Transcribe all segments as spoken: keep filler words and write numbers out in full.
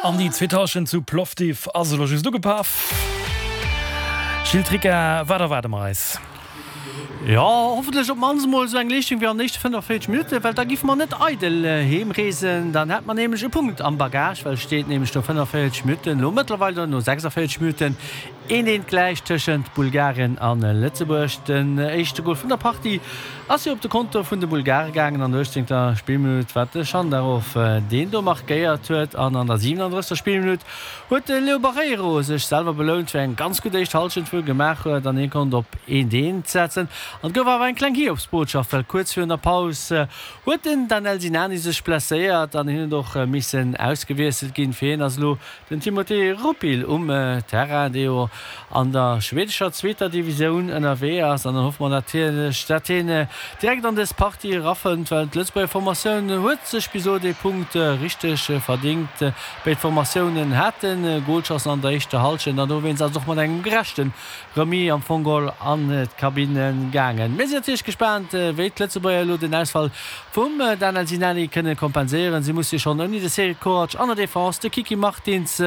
An déi zweet Hallschent zu Plovdiv ass elo just ugepaff. Gilles Tricca, wat erwaarde mer eis? Jo, hoffentlech op d'mannst emol esou eng Leeschtung wéi an den éischte fënnefenvéierzeg Minutten, well da giffe mer net eidel heem reesen. Dann hätt mer nämlech e Punkt am Bagage, well et steet nämlech no fënnefenvéierzeg Minutten, elo mëttlerweil dann no sechsundvéierzeg Minutten, een eent gläich tëschent Bulgarien a Lëtzebuerg. Den éischte Gol vun der Partie ass jo op de Konto vun de Bulgare gaangen an der uechtzéngter Spillminutt, wat de Schandarov deen do markéiert huet. An an der siwenanddrëssegster Spillminutt huet de Leo Barreiro sech selwer belount fir eng ganz gutt éischt Hallschent, wou e gemaach huet an hie konnt op eent eent setzen. An et gouf awer eng kleng Hiobsbotschaft, well kuerz virun der Paus huet den Danel Sinani sech blesséiert an hien huet och missen ausgewiesselt ginn. Fir hien ass elo den Timothé Rupil um Terrain, dee jo an der schwedescher zweeter Divisioun ënnerwee ass. An dann hoffe mer natierlech, datt hien direkt an dës Partie erafënnt, well d'Lëtzebuerger Formatioun huet sech bis elo dee Punkt richteg verdingt. Béid Formatiounen hate Golchancen an der éischter Hallschent an dowéinst ass et och mat engem gerechte Remis am Fong geholl an d'Kabinne gaangen. Mir sinn natierlech gespaant, wéi d'Lëtzebuerger elo den Ausfall vum Danel Sinani kënne kompenséieren. Si musse schonn ouni de Cédric Korac an der Defense, de Kiki Martins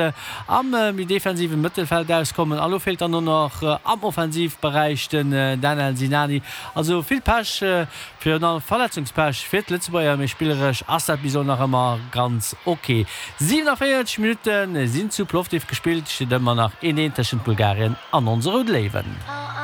am méi defensive Mëttelfeld auskommen. A lo feelt dann och nach am Offensivberäich den Danel Sinani. Also vill Pech, virun allem Verletzungspech fir d'Lëtzebuerger, mee spilleresch ass dat bis elo nach ëmmer ganz ok. siwenanvéierzeg Minutte sinn zu Plovdiv gespillt, steet ëmmer nach een eent tëschent Bulgarien an onse Rout Léiwen.